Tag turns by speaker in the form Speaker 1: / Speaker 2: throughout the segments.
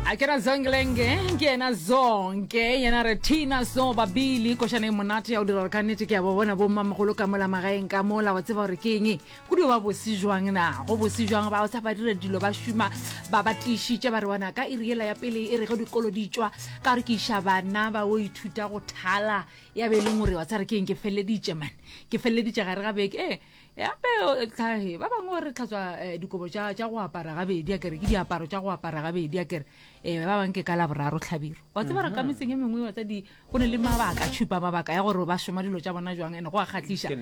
Speaker 1: A ke ra Zonglenge, ke yena Zonke, yena re Tina So Babili, košana e monate ya go dira gore ka nnete ke a bo bona bo mmamogolo ka mola magaeng ka mola, wa tseba gore ke eng, go dio ba bose jwang na, go bose jwang, ba sa ba dira dilo ba šoma, ba ba tiišitše ba re wana ka iri yela ya pele e re ge dikolo di tšwa, ka gore ke iša bana ba o ithuta go thala, ya be e leng gore wa tseba re ke eng ke feleleditše man, ke feleleditše gare ga beke, ee. Gape tlhahe ba bangwe re tlhatswa eh, dikobo tša tša go apara gabedi a kere ke diaparo tša go apara gabedi a kere um ba bangwe ke ka laboraro tlhabiro wa tseba re ka mhm. metseng e mengwe wa tsa di go ne le mabaka tšhupa mabaka ya gore ba šoma dilo tša bona jwang ene go a kgatlhiša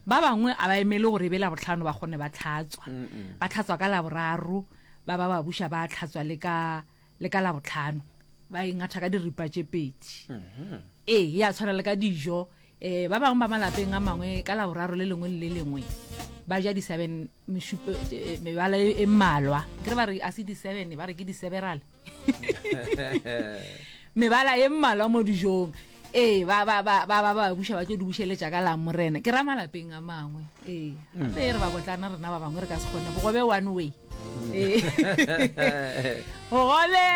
Speaker 1: ba bangwe a ba emele gore e be labotlhano ba kgone ba tlhatswa ba tlhatswa ka laboraro ba ba ba buša ba tlhatswa le ka le ka labotlhano ba e ngatha ka diripa tše pedi mhm. ee ya tshwana le ka dijo um ba bangwe ba malapeng a mangwe ka laboraro le lengwe le le lengwe ba ja di-seven mešupo eh, mebala e, e mmalwa ke re ba re a se di-seven ba re ke di-several mebala e mmalwa mo dijong ee ba ba ba ba ba ba buša ba tlo di bušeletša ka la morena ke ra malapeng a mangwe ee mm. gape re ba botlana rena ba bangwe re ka se kgone bogobe one way mm. ee bogobe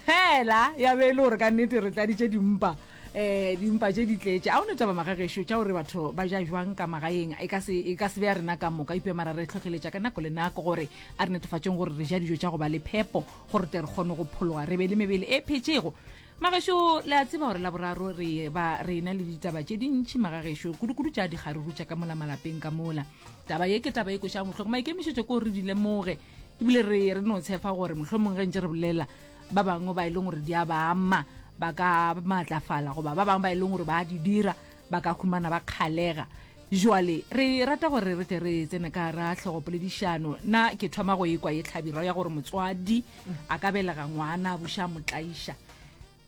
Speaker 1: fela ya be e le gore ka nnete re tladitše dimpa um dimpa tše di tletše. A o ne taba magagešo tša gore batho ba ja jwang ka magaeng? E ka se, e ka se be ya rena ka moka, eupša mara re hlohleletša ka nako le nako gore a re netefatšeng gore re ja dijo tša go ba le phepo gore tle re kgone go phologa re be le mebele e phetšego. Magešo, le a tseba gore Laboraro re ba re ena le ditaba tše dintši magagešo, kudu-kudu tša dikgaruru tša ka mola malapeng ka mola. Taba ye ke taba e kwešago bohloko. Maikemišetšo ke gore re di lemoge ebile re re no tshefa gore mohlomong ge ntše re bolela ba bangwe ba e leng gore di a ba ama ba ka maatlafala goba ba bangwe ba e leng gore ba di dira ba ka humana ba kgalega jwale re rata gore re tle re tsene ka ra tlhogopoledišano na ke thoma go ekwa ye tlhabirwa ya gore motswadi a ka belega ngwana a buša motlaiša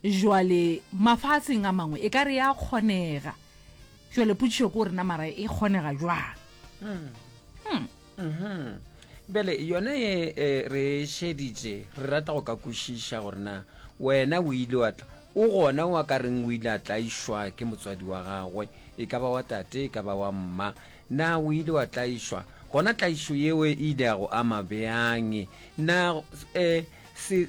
Speaker 1: jwale mafatsheng a mangwe e ka re ya kgonega jwale potšišo ke gore na mara e kgonega jwang
Speaker 2: hmm. Hmm. Mhm. Bjale yona ye eh, re e šeditše, re rata go ka kwešiša gore na wena o ile wa tla o gona o a ka reng o ile a tlaišwa ke motswadi wa gagwe, e ka ba wa tate, e ka ba wa mma. Na o ile wa tlaišwa? Gona tlaišo yeo e ile ya go ama bjang? Na eh, se,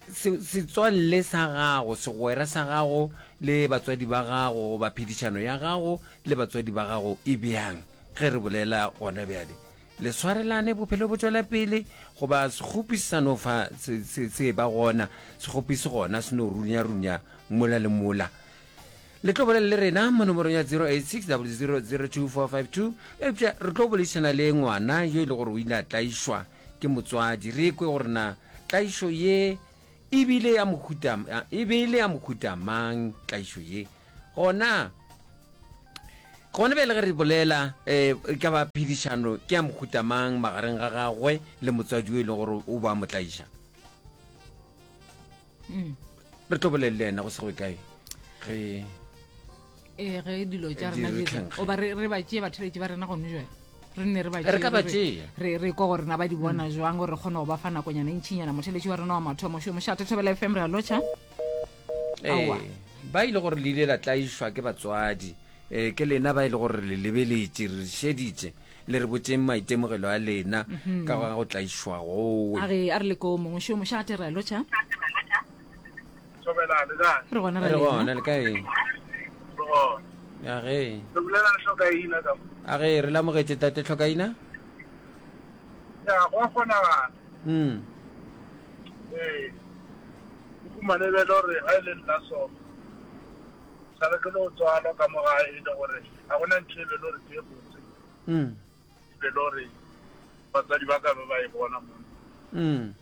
Speaker 2: se, setswalle sa gago, segwera sa gago le batswadi ba gago goba phedišano ya gago le batswadi ba gago e bjang? Ge re bolela gona bjale, le swarelane, bophelo bo tšwela pele, goba sekgopi se sa no fa se, se, se ba gona, sekgopi se gona se no runya-runya mola le mola. Le tlo bolela le rena mo nomorong ya 086 0002452, eupša re tlo boledišana le ngwana yo e le gore o ile a tlaišwa ke motswadi, re kwe gore na tlaišo ye e bile ya mohuta, e be e le ya mohuta mang tlaišo ye. Gona Gona bjale ge re bolela um e ka ba phedišano ke ya mohuta mang magareng ga gagwe le motswadi yo e leng gore o ba mo tlaiša? Mm. Re tlo bolele le yena go se go kae ge
Speaker 1: ee ge dilo tša rena di oba re ba tšee batheletši ba rena gone jale re nne re ba
Speaker 2: re ka ba tšea
Speaker 1: re re kwa gore na ba di bona mm. jwang gore re kgone go ba fa nakonyana e ntšhinyana motheletši wa rena wa mathomo šo mošate thobela fm re a lotšha
Speaker 2: Aowa. Ba e le gore le ile la tlaišwa ke batswadi, e, ke lena ba e le gore le lebeletše, re šeditše, le re botšeng maitemogelo a lena mhm. ka ga go tlaišwa gowe.
Speaker 1: A re a re le ko mongwe šo mošate re a lotšha.
Speaker 3: Thobela, le kae?
Speaker 1: Re gona
Speaker 2: re gona le kae? Re gona. A ge.
Speaker 3: Re bolela le Hlokaina ka.
Speaker 2: A ge re lamogetše tate Hlokaina?
Speaker 3: Ya, go a kgonagala.
Speaker 2: Mm.
Speaker 3: Ee. O humane bjale gore ga e le nna so, sa le ke no tswalwa ka mo gae e le gore ga gona ntho e be le gore ke e botse.
Speaker 2: Mm.
Speaker 3: E be le gore batswadi ba ka be ba e bona mo.
Speaker 2: Mm.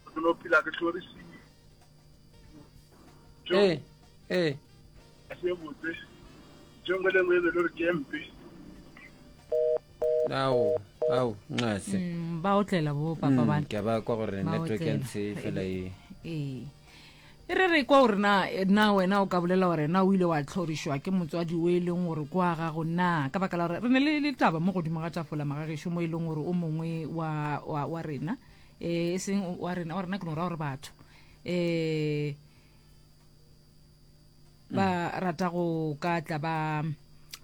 Speaker 3: Ke no phela ke hlorisiwe.
Speaker 2: Ee, ee.
Speaker 3: Ga se e botse. Ntho e nngwe le nngwe e be le gore ke e mpe.
Speaker 2: Ao, ao, nxase.
Speaker 1: Mm, ba otlela bo papa ba.
Speaker 2: Mm, ke a ba kwa gore
Speaker 1: Ba
Speaker 2: network ya
Speaker 1: otlela.
Speaker 2: ntshe fela e.
Speaker 1: Ee. E re re kwa gore na na wena o ka bolela gore na o ile wa tlhorišwa ke motswadi o e leng gore kwa gago na ka baka la gore re ne le le taba mo godimo ga tafola magagešo mo e leng gore o mongwe wa, wa, wa rena e seng wa rena wa rena ke no ra gore batho um ba rata go ka tla ba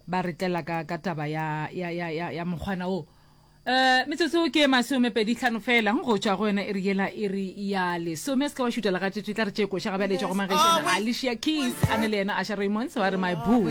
Speaker 1: ba re tlela ka ka taba ya ya ya ya, ya mokgwana o. Eh, metsotso ke masomepedihlano fela go tšwa go yona iri yela iri ya lesome. Se ka wa šutela ga tšetše, tla re tše koša ga bjale e tšwa go Magešana Alicia Keys a ne le yena Asha Raymonds ba re my boo.